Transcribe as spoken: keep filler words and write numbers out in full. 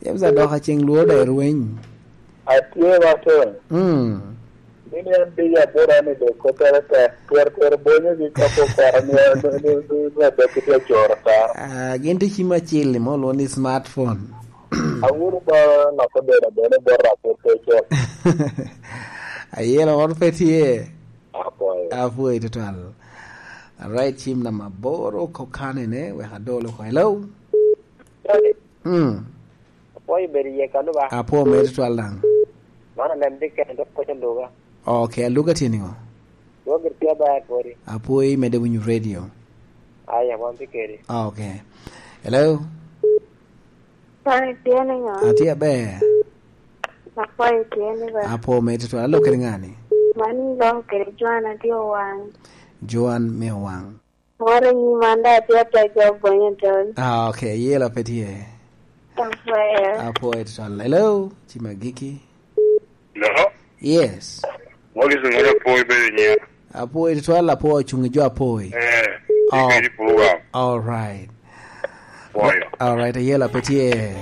James Adoka, ceng lworo da irweny. Atye, Martin. Mm. Ni ni an diyo abora ni dok kottere tek. Twero twero bonyo gi kapo kwara ni an ni ni ni adok ki tye coro ta. Ah, gin tye cim acil ni mo lwongo ni smartphone. Awuro ba loko bene bene bot rapor pe cok. Ayelo ot pe tye. Apwoyo. Apwoyo tutwal. Alright, cim namba aboro kokane ne, wek adolo ko. Hello? Mm. Apwoyo bedo iye kano ba? Apwoyo mere tutwal daŋ. Man alem dikene dok koco luga. Okay, aluga tye niŋo? Dwoggi tye ber kodi. Apwoyo imedde winyo radio. Aya, wan tye kedi. Okay. Hello? Kwan itye niŋo? Atye aber. Apwoyo itye ni ba? Apwoyo mere tutwal. Alok kede ŋani? Man iloko kede Joan atye Owaŋ. Joan me Owaŋ. Moro i nyim an daŋ atye atego bonyo tol. Ah, okay. Yela pe tye. Apwoyo. Apwoyo tutwal. Hello? Cim agiki. Hello? Yes. Morris Ngolo Apwoyo bedo nyiŋa. Apwoyo tutwal, Apwoyo cuŋ i jo Apwoyo. Eh, Oh. Ikedi program. All right. Apwoyo. All right, ayela pe tye.